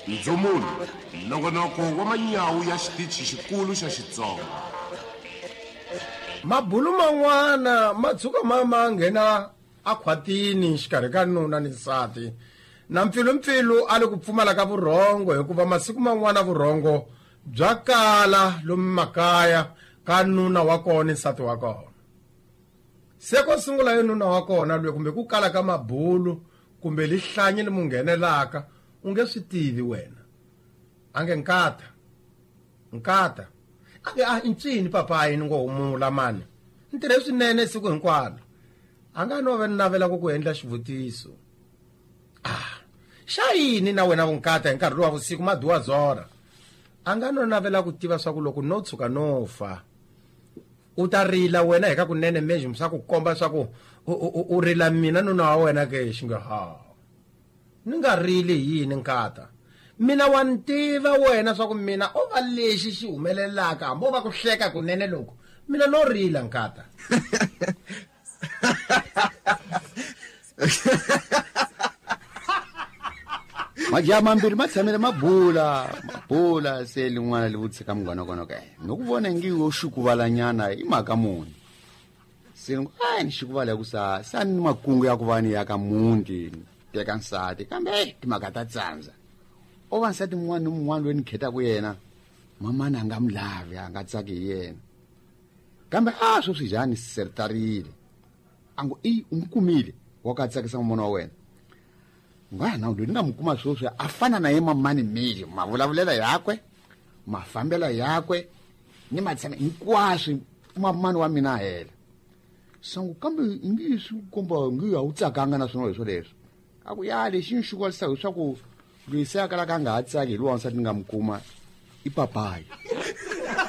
Ndzumulo, nongonoko wa manyawu ya xitichi xikulu xa Xitsonga. Mabulu man'wana ma tshuka ma ma nghena akhwatini xikarhi ka nuna ni nsati na mpfilumpfilu a li ku pfumala ka vurhongo hikuva masiku man'wana vurhongo bya kala lomu makaya ka nuna wa kona ni nsati wa kona. Se ko sungula yo nuna wa kona loyi kumbe ku kala ka mabulu kumbe lihlanyi li mu nghenelaka u nge swi tivi wena. A nge nkata, nkata. A nge a ncini papayi ni ngo humula mani. Ni tirhe swinene siku hinkwalo. A nga no va ni navela ku ku endla xivutiso. Ah, xa yini na wena vunkata hi nkarhi lowa vusiku maduwa zora? A nga no navela ku tiva swa ku loko no tshuka no fa u ta rila wena hi ka kunene mejum swa ku komba swa ku u rila mina nuna wa wena ke xi nge ha ni nga rili hi yini nkata mina wa ni tiva wena swa ku mina o va lexi xi humelelaka hambi o va ku hleka kunene loko mina no rila nkata. Majaha mambirhi ma tshamile ma bula ma bula se lin'wana li vutisa ka munghana kona ka no ku vona ngi yo xukuvalanyana i mhaka muni se ni a ni xukuvala ku sa sa ni makungu ya ku va ni ya ka muti teka nsati kambe eh timhaka ta tsandza o va nsati mun'wana ni mun'wana loyi ni khetaka yena mamani a nga mi lavi a nga tsaki hi yena kambe a sweswi njhani sertarile a ngo i u n'wi kumile wa ka tsakisa mamana wa wena ngwana loyi ni nga mu kuma sweswi a fana na ye mamani mili mavulavulelo yakwe mafambelo yakwe ni matshama hinkwaswo mamani wa mina hela sangu kambe ngi swi komba ngi a wu tsakanga na swona leswo leswo a ku ya lexi ni xi leswaku loyi se a kalaka a nga ha tsaki hi lowa wansati ni nga mu kuma i papayi.